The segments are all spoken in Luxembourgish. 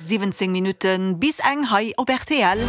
17 Minutte bis eng hei op rtl.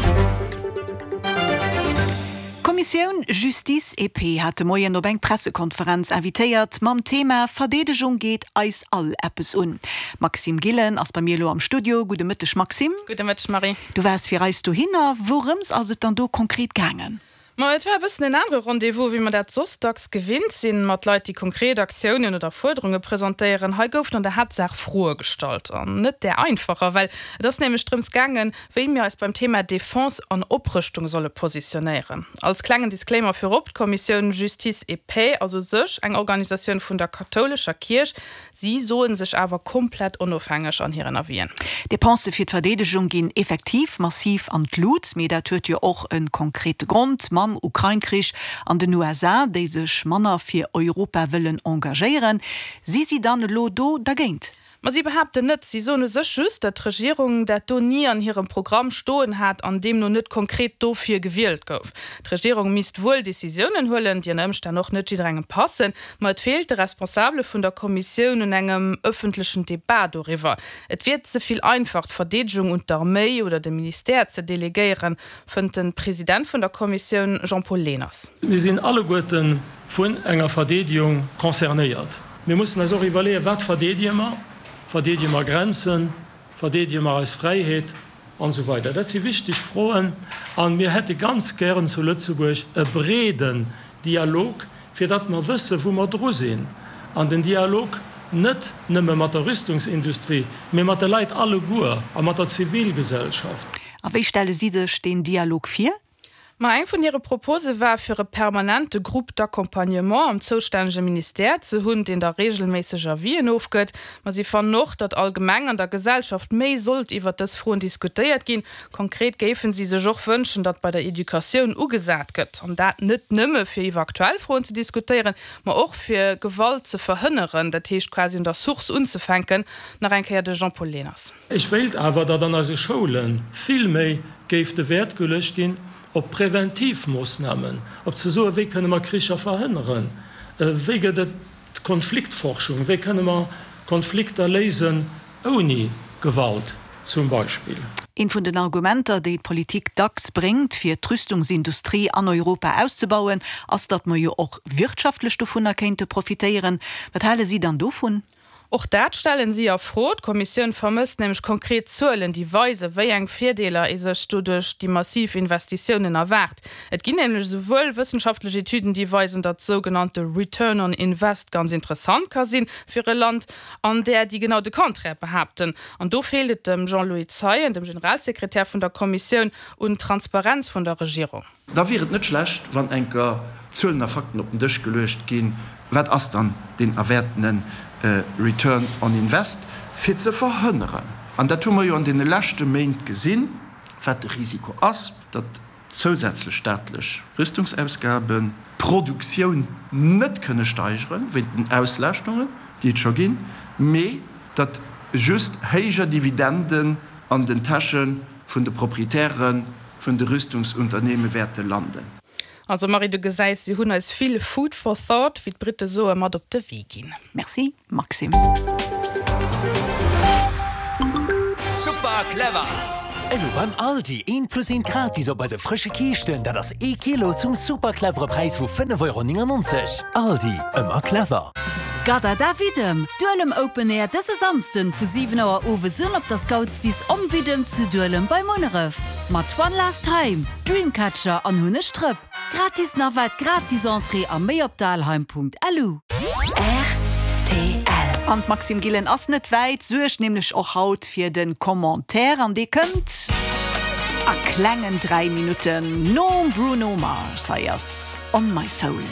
D'Kommissioun Justice et Paix hat de Moien op eng Pressekonferenz invitéiert mam Thema Verdeedegung geet eis all eppes un. Maxime Gillen ass bei mir elo am Studio. Gudde Mëtteg Maxime. Gudde Mëtteg Marie. Du waars fir eis dohinner. Wourëms ass et dann do konkret gaangen? Ma et war e bëssen en anere Rendez-vous, wéi mer dat soss dacks gewinnt sinn, mat Leit, déi konkret Aktiounen oder Fuerderunge presentéieren. Hei goufen an der Haaptsaach Froe gestallt. An net där einfacher, well et ass nämlech drëms gaangen, wéi mir eis beim Thema Defense an Oprëschtung solle positionéieren. Als klengen Disclaimer virop, D'Kommissioun Justice et Paix ass u sech eng Organisatioun vun der kathoulescher Kierch, Si soe sech awer komplett onofhängeg an hiren Avisen. D'Depensë fir d'Verdeedegung ginn effektiv massiv an d'Lut, mee dat huet jo och e konkrete Grond mam Ukrain-Krich an den USA, déi sech manner fir Europa wëllen engagéieren. Si si dann elo do dergéint? Ma si behaapten net. Si soen u sech just, datt d'Regierung dat do ni an hirem Programm stoen hat an deemno net konkret dofir gewielt gouf. D'Regierung misst wuel Decisiounen huelen, déi ënner Ëmstänn och net jidderengem passen, Ma et feelt de Responsabele vun der Kommissioun un engem ëffentlechen Debat doriwwer. Et wier ze vill einfach, d'Verdeedegung un d'Arméi oder de Ministère ze delegéieren, fënnt de President vun der Kommissioun Jean-Paul Lehners. Mir sinn alleguerte vun enger Verdeedegung concernéiert. Mir mussen eis och iwwerleeën, Wat verdeedege mer? Verdeedege mer Grenzen? Verdeedege mer eis Fräiheet? An esou weider. Dat si wichteg Froen a mir hätte ganz gären zu Lëtzebuerg e breeden Dialog, fir datt mer wësse wou mer dru sinn. An den Dialog net nëmme mat der Rüstungsindustrie, mee mat de Leit alleguer a mat der Zivilgesellschaft. A wéi stelle si sech deen Dialog vir? Ma eng vun hire Propose war, fir e permanente Groupe d'accompagnement am zoustännege Ministère ze hunn, deen da reegelméisseg Avisen ofgëtt. Ma si fannen och, datt allgemeng an der Gesellschaft méi sollt iwwert dës Froen diskutéiert ginn. Konkret géifen si sech och wënschen, datt bei der Educatioun ugesat gëtt, an dat net nëmme fir iwwer aktuell Froen ze diskutéieren, ma och fir Gewalt ze verhënneren, dat heescht quasi un der Source unzefänken. Nach eng Kéier de Jean-Paul Lehners. Ech wéilt awer, datt an eise Schoule vill méi géif de Wäert geluecht ginn op Präventivmoossnamen, op ze soen, wéi kënne mer Kricher verhënneren, wéi gëtt et Konfliktforschung, wéi kënne mer Konflikter léisen ouni Gewalt zum Beispill. Eent vun den Argumenter, déi d'Politik dacks bréngt, fir d'Rüstungsindustrie an Europa auszebauen, ass, datt mer jo och wirtschaftlech dovunner kéinte profitéieren. Wat hale si dann dovun? Och dat stellen si a Fro. D'Kommissioun vermësst nämlech konkret Zuelen, déi weisen, wéi eng Virdeeler ee sech doduerch déi massiv Investitiounen erwaart. Et ginn nämlech esouwuel wëssenschaftlech Etüden, déi weisen, datt sougenannte Return on Invest ganz interessant ka sinn fir e Land, an där, déi genau de Contraire behaapten. An do feelt et dem Jean-Louis Zeien, dem Generalsekretär vun der Kommissioun, un Transparenz vun der Regierung. Da wier et net schlecht, wann enker Zuelen a Fakten op den Dësch geluecht ginn, Wat ass dann deen erwäertene Return on Invest, fir ze verhënneren, an dat hu mer jo an deene leschte Méint gesinn, wat de Risiko ass, datt zousätzlech staatlech Rüstungsausgaben d'Produktioun net kënne steigere wéint den Auslaaschtungen, déi et scho ginn, mee datt just héijer Dividenden an den Täsche vun de Proprietäre vun de Rüstungsunternehme wäerte landen. Also Marie, du gesäis, si hunn eis vill Food for thought, wéi d'Britte soen, mat op de Wee ginn. Merci Maxime. Super clever! Elo beim Aldi, eent plus eent gratis op eise frësche Kiischten, dat ass ee Kilo zum super clevere Präis vu 5,99 Euro. Aldi, ëmmer clever! Gadada Widdem, Duelem Open Air dëse Samsden vu 7 Auer owes un op der Scoutswiss Om Widdem zu Duelem bei Munneref. Mat One Last Time, Dreamcatcher an Hunneg Drëpp. Gratis Navette, gratis Entrée a méi op dalheim.lu. Rtl. An d'Maxime Gillen ass net wäit, suergt nämlech och haut fir de Commentaire an dee kënnt a klengen 3 Minutten nom Bruno Mars. Hei ass On My Soul.